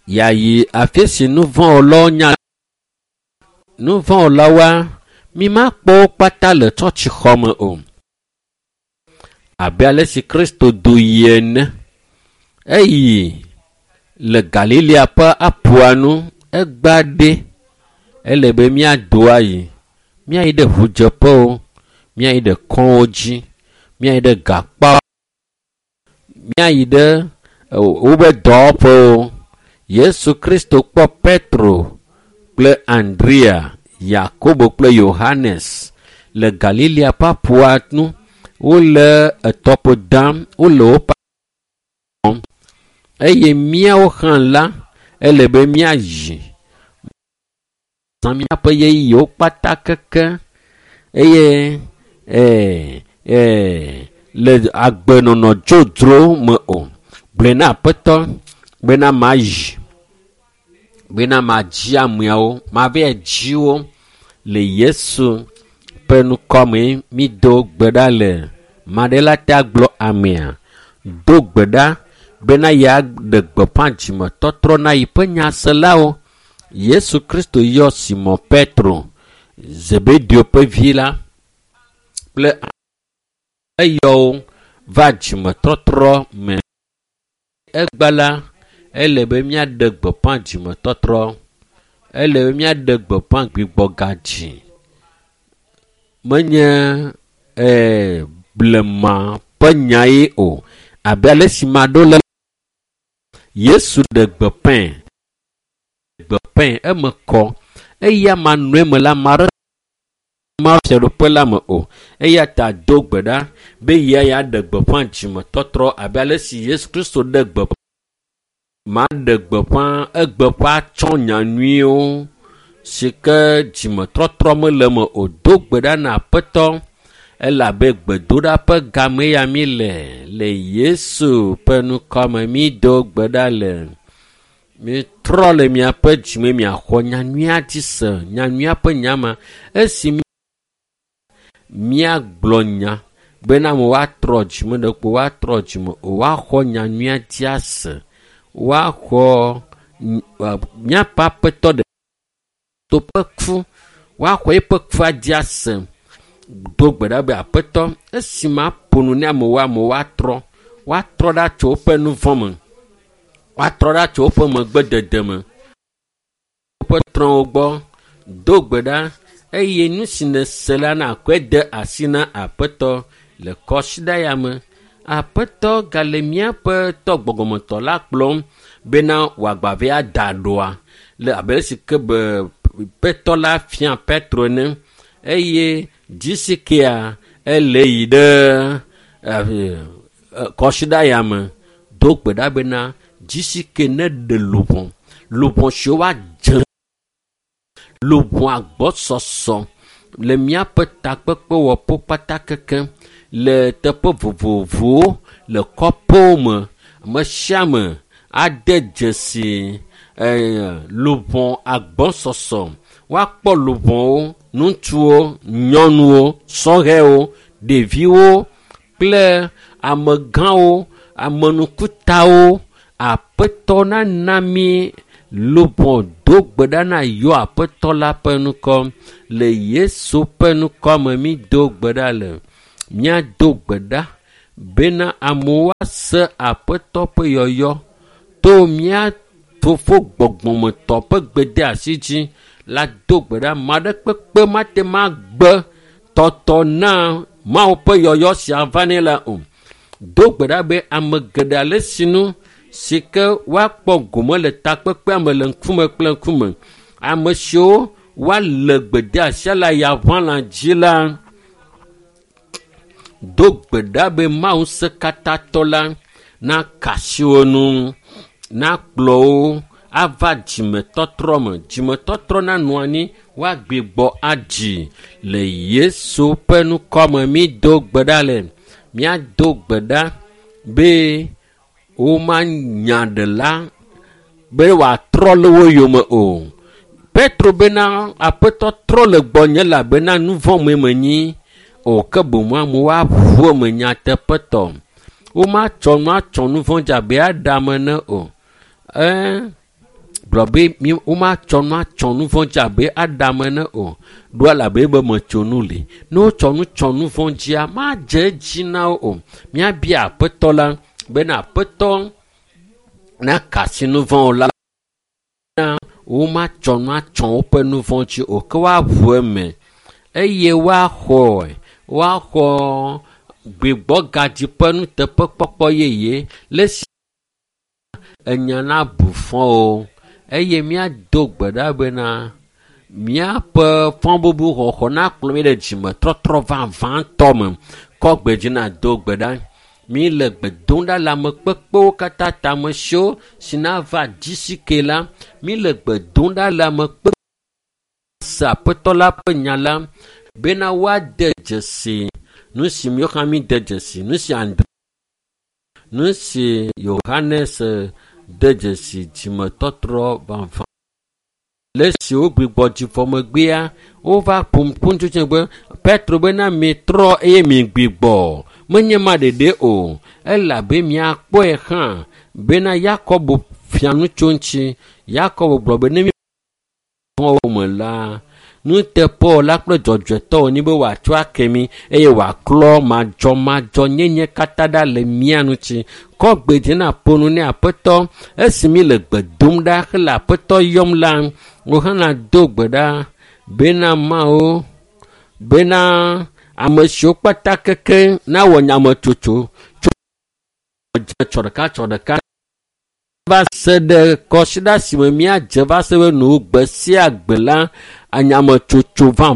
S1: yeayi afi si nu vɔ̃wɔlawo nya. Nu vɔ̃wɔlawoa, mi makpɔ wo kpata le tsɔtsixɔme o. Abe ale si Kristo do yi ene. Eyi le Galilea ƒe aƒua nu egbea ɖe. Ele be míado ayi. Míayi ɖe ʋudzeƒewo, míayi ɖe kɔwo dzi, míayi ɖe gakpa, míayi ɖe woƒe dɔwɔƒewo. Yesu Kristo kpɔ Petro kple Andrea, Yakobo kple Yohanes le Galilea ƒe aƒua nu. Wole etɔƒo dam, wole woƒe eye míawo hã la, ele be míayi zã míaƒe ɣeyiɣiwo kpata keke eye le agbenɔnɔ dzodzro me o. Gblɔe na Aƒetɔ bena mayi, bena madzi ameawo, mava dzi wo le Yesu ƒe ŋkɔ me. Mído gbe ɖa le maɖe ta gblɔ amea. Do gbe ɖa bena yeaɖe gbeƒã dzimetɔtrɔ na yiƒe nyaselawo. Yesu Kristo yɔ Simɔn Petro, Zebedeo ƒe vi la kple eyɔ wo va dzimetɔtrɔ me. Egba la, ele be míaɖe gbeƒã dzimetɔtrɔ. Ele be míaɖe gbeƒã gbigbɔgadzi. Menye blema ƒe nyae o. Abe ale si maɖo le Yesu ɖe gbeƒãe. Gbeƒãe eme kɔ. Eya manɔe me la, ame aɖe ma fiaɖuƒe la me o. Eya ta do gbe ɖa be yia yeaɖe gbeƒã dzimetɔtrɔ abe ale si Yesu Kristo ɖe gbeƒã. Maɖe gbeƒã egbeƒã tsɔ nyanyuiwo si ke dzimetɔtrɔ mele eme o. Do gbe ɖa na Aƒetɔ elabe gbedoɖa ƒe game ya mi le le Yesu ƒe ŋkɔ me. Mído gbe ɖa le. Mitrɔ le miaƒe dzime miaxɔ nyanyuia dzi se, nyanyuia ƒe nya ma. Esi míagblɔ nya bena ame woatrɔ dzime ɖe kpo woatrɔ dzime o, woaxɔ nyanyuia dzi ase, woaxɔ míaƒe Aƒetɔ ɖe to ƒe ku, woaxɔ eƒe kua dzi ase. Do gbe ɖa be Aƒetɔ, esi maƒo nu ne amewo, amewo woatrɔ, woatrɔ ɖa tso woƒe nu vɔ̃ me, woatrɔ ɖa tso woƒe megbedede me, woƒe trɔ̃wo gbɔ. Do gbe ɖa eye nu si nèse la nàkɔe de asi na Aƒetɔ le kɔsiɖa ya me. Aƒetɔ gale míaƒe tɔ gbɔgbɔmetɔ la kplɔm bena wòagbave ada ɖoa le abe esi ke be Aƒetɔ la fia Petro ene eye dzisikea ele yi ɖe kɔsiɖa ya me do gbe ɖa bena dzisike ne ɖe luʋɔ luʋɔ siwo woadze luʋɔ agbɔsɔsɔ le míaƒe takpekpewɔƒewo kpata keke le teƒe vovovowo le kɔƒewo me ame sia ame ade dzesi luʋɔ agbɔsɔsɔ woakpɔ luʋɔwo ŋutsuwo nyɔnuwo sɔhɛwo ɖeviwo kple amegãwo amenukutawo aƒetɔ nana mi luʋɔ do gbe ɖa na yɔ aƒetɔ la ƒe ŋkɔ le Yesu ƒe ŋkɔ me mi do gbe ɖa le míado gbe ɖa bena amewo ase aƒetɔ ƒe yɔyɔ to mía fofo gbɔgbɔmetɔ ƒe gbedeasi dzi la do gbe ɖa ame aɖe kpekpe mate ma gbe tɔtɔ na Mawu ƒe yɔyɔ sia va nɛ la o. Do gbe ɖa be ame geɖe ale sinu si ke woakpɔ gome le takpekpea me le ŋkume kple ŋkume. Ame siwo woalé gbedeasia le ayaʋãla dzi la do gbe ɖa be Mawu ŋusẽkatãtɔ la naka asi wo ŋu, nakplɔ wo ava dzimetɔtrɔ me. Dzimetɔtrɔ nanɔ anyi woagbigbɔ adzi le Yesu ƒe ŋkɔ me mi do gbe ɖa le. Míado gbe ɖa be womanya ɖela be wòatrɔ le wo yome o. Petro bena aƒetɔ trɔ le gbɔnye elabena nu vɔ̃ mee menyi o ke boŋ amewo aʋu eme nyateƒetɔ. Womatsɔ nu atsɔ nu vɔ̃ dzi abe Adam ene o. Gblɔ be womatsɔ nu atsɔ nu vɔ̃ dzi abe Adam ene o. Ɖo elabe be metso nu li. Ne wotsɔ nu tsɔ nu vɔ̃ dzia, madze edzi na wo o. Míabia aƒetɔ la bena aƒetɔ naka asi nu vɔ̃ la womatsɔ nu atsɔ woƒe nu vɔ̃ dzi o ke woaʋu eme eye woaxɔe woaxɔ gbigbɔgadzi ƒe nuteƒekpɔkpɔ yeye le esi enya nabu fɔ o eye míado gbe ɖa bena míaƒe fɔbubu xɔxɔ nakplɔ mí ɖe dzimetɔtrɔ vavãtɔ me kɔ gbe dzi nado gbe ɖa. Mi le gbe dom ɖa le ame kpekpewo katã ta ame siwo si nava dzisike la mi le gbe dom ɖa le ame kpekpe se aƒetɔ la ƒe nya la bena woade dzesi nu si míwo hã mi de dzesi nu si Andre nu si Yohanes de dzesi dzimetɔtrɔ vavã le esi wogbugbɔ dzi vɔ megbea wova ƒom ƒu be Petro bena mitrɔ eye migbigbɔ menye ma ɖeɖe o elabe miakpɔe hã bena Yakobo fia nu tso ŋuti. Yakobo gblɔ be ne mi vɔ̃wo me la nuteƒewɔla kple dzɔdzɔetɔ wònye be wòatsɔ ake mi eye wòaklɔ madzɔmadzɔnyenye katã ɖa le mía ŋuti. Kɔ gbe dzi na ƒo nu ne aƒetɔ esi mi le gbe dom ɖa hele aƒetɔ yɔm la wò hã nàdo gbe ɖa bena Mawu bena ame siwo kpata keke nawɔ nyametsotso tso tsɔ ɖeka tsɔ ɖeka va se ɖe kɔsiɖa si me míadze va se ɖe nu gbe sia gbe la anyametsotso va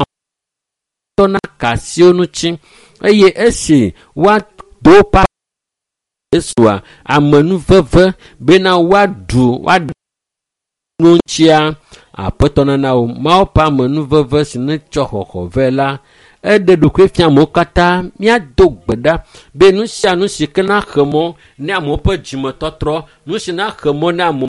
S1: tɔ na ka asiwo ŋuti eye esi woado pa Yesua amenuveve bena woaɖu woaɖu nu ŋutia aƒetɔ nana wo Mawu ƒe amenuveve si netsɔ xɔxɔ vɛ la eɖe ɖokui fia amewo katã míado gbe ɖa be nu sia nu si ke naxe mɔ ne amewo ƒe dzimetɔtrɔ nu si naxe mɔ ne amewo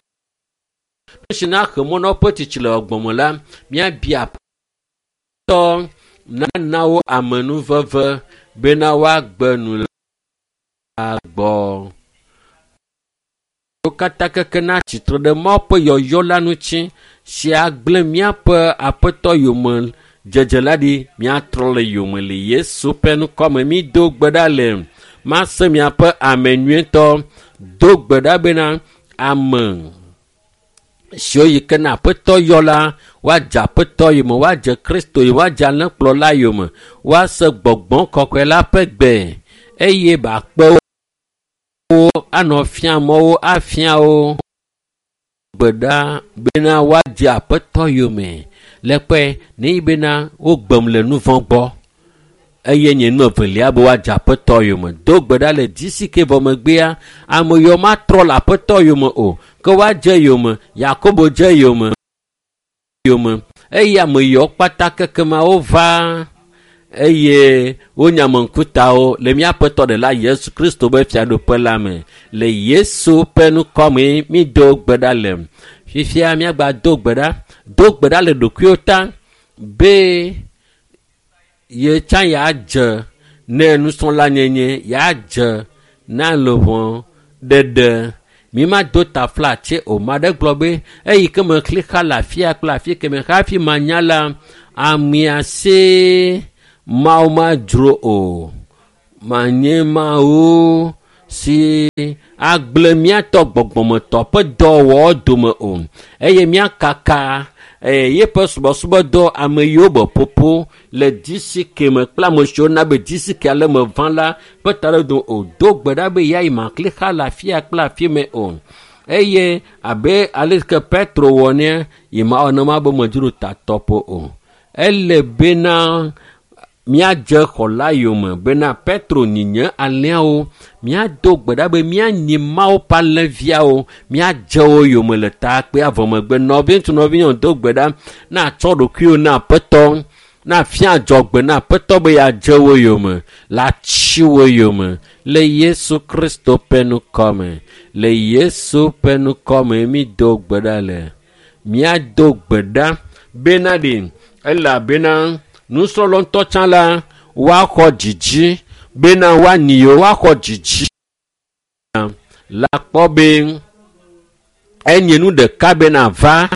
S1: nu si naxe mɔ na woƒe tsitsi le gbɔme la míabia aƒetɔ nana wo amenuveve bena woagbe nu le gbɔ. Wo katã keke na tsitre ɖe Mawu ƒe yɔyɔ la ŋuti si agblẽ míaƒe aƒetɔ yome dzedze la ɖi míatrɔ le yome le Yesu ƒe ŋkɔ me mído gbe ɖa le mase miaƒe ame nyuietɔ do gbe ɖa bena ame siwo yi ke na aƒetɔ yɔ la woadze aƒetɔ yome woadze Kristo yome woadze alẽkplɔla yome woase gbɔgbɔ kɔkɔe la ƒe gbe eye bakpe wo anɔ fia mɔwo afia wo gbe ɖa bena woadze aƒetɔ yome Le kpɔe ne bena wogbem le nu vɔ̃ gbɔ eye nye nu evelia be woadze aƒetɔ yome. Do gbe ɖa le DCK vɔ megbea, ame yiwo matrɔ le aƒetɔ yome o ke woadze yome. Yakobo dze yome eye ame yiwo kpata kekema wova eye wonya ame ŋkutawo le míaƒetɔ ɖela Yesu Kristo be fiaɖuƒe la me. Le Yesu ƒe ŋkɔme mído gbe ɖa le. Fifia míagba do gbe ɖa. Do gbe ɖa le ɖokuiwo ta be ye tsã yeadze ne nusrɔ̃lanyenye yeadze na luʋɔ ɖeɖe. Mi ma do taflatse o. Ma ɖe gblɔ be eyi ke me xlixa le afia kple afi ke me hafi manya la amea se Mawu madzro o. Manye Mawu si agblẽ míatɔ gbɔgbɔmetɔ ƒe dɔwɔwɔ dome o eye míakaka yeƒe subɔsubɔdɔ ame yiwo be ƒoƒo le DCK me kple ame siwo na be DCK ale me va la ƒe taɖodzinu o. Do gbe ɖa be yeayi maklixa le afia kple afi me o. Eye abe ale ke Petro wɔ nea, yi mawɔ nema be medzro tatɔƒo o. Ele bena míadze xɔla yome bena Petro nyinye alẽawo. Míado gbe ɖa be míanyi Mawu ƒe alẽviawo. Míadze wo yome le takpea vɔ megbe. Nɔviŋutsu nɔvinyɔnu do gbe ɖa na tsɔ ɖokuiwo na aƒetɔ na fia adzɔgbe na aƒetɔ be yeadze wo yome le atsi wo yome le Yesu Kristo ƒe ŋkɔme. Le Yesu ƒe ŋkɔme mído gbe ɖa le. Míado gbe ɖa bena ɖe elabena nusrɔ̃la ŋutɔ tsã la woaxɔ dzidzi bena woanyi yewo woaxɔ dzidzi la kpɔ be enye nu ɖeka bena va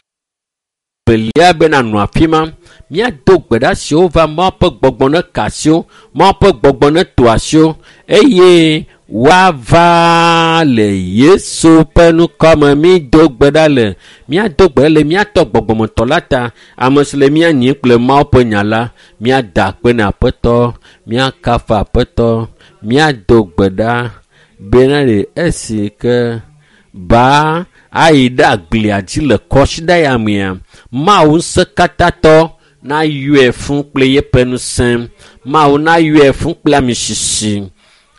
S1: velia bena nɔ afi ma. Míado gbe ɖa siwo va Mawu ƒe gbɔgbɔ ne ka asiwo, Mawu ƒe gbɔgbɔ ne to asiwo eye woava le Yesu ƒe ŋkɔme. Mído gbe ɖa le míado gbe le míatɔ gbɔgbɔmetɔ la ta ame si le mía nyim kple Mawu ƒe nya la. Míada akpe na aƒetɔ, míakafu aƒetɔ, míado gbe ɖa bena ɖe esi ke ba ayi ɖe agblia dzi le kɔsiɖa ya mea, Mawu ŋusẽkatãtɔ nayɔe fũ kple yeƒe ŋusẽ. Mawu nayɔe fũ kple amisisi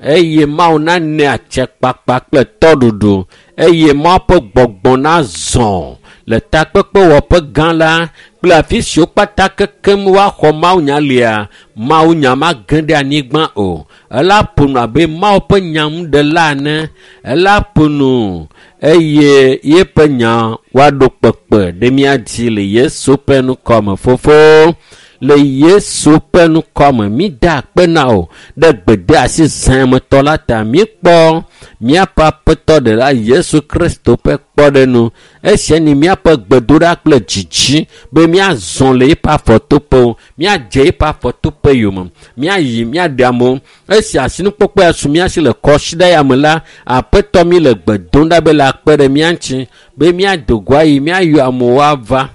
S1: eye Mawu nane atsekpakpa kple tɔɖuɖu eye Mawu ƒe gbɔgbɔ nazɔ le takpekpewɔƒe gã la kple afi siwo kpata kekem woaxɔ mawunya lia. Mawunya mage ɖe anyigba o. Ela ƒo nu abe Mawu ƒe nyanuɖela ene. Ela ƒo nu eye yeƒe nya woaɖo kpekpe ɖe mía dzi le Yesu ƒe ŋkɔme. Fofo, le Yesu ƒe ŋkɔme mída akpe na wò ɖe gbedeasi zãmetɔ la ta. Míekpɔ míaƒe aƒetɔ ɖela Yesu Kristo ƒe kpɔɖeŋu. Esia nye míaƒe gbedoɖa kple dzidzi be míazɔ le eƒe afɔtoƒewo, míadze eƒe afɔtoƒe yome, míayi míaɖe amewo. Esi asinukpɔkpɔ ya su mía si le kɔsiɖa ya me la, aƒetɔ mi le gbe dom ɖa be le akpe ɖe mía ŋuti be míado go ayi míayɔ amewo ava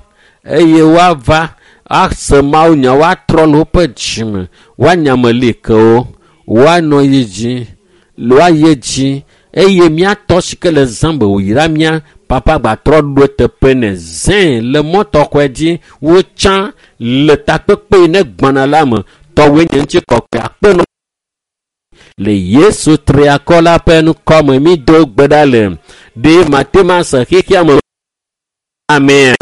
S1: eye woava ase mawunya, woatrɔ le woƒe dzime, woanya ame li ke wo, woanɔ yi dzi, woayi edzi eye míatɔ si ke le zã be wòyra mía papa gbatrɔ ɖo eteƒe ne zẽ le mɔ tɔxɔe dzi wotsã le takpekpe yi ne gbɔna la me. Tɔwoe nye ŋutikɔkɔe akpe nɔ le Yesu triakɔ la ƒe ŋkɔme. Mído gbe ɖa le ɖe mate ma se xexea me. Amen.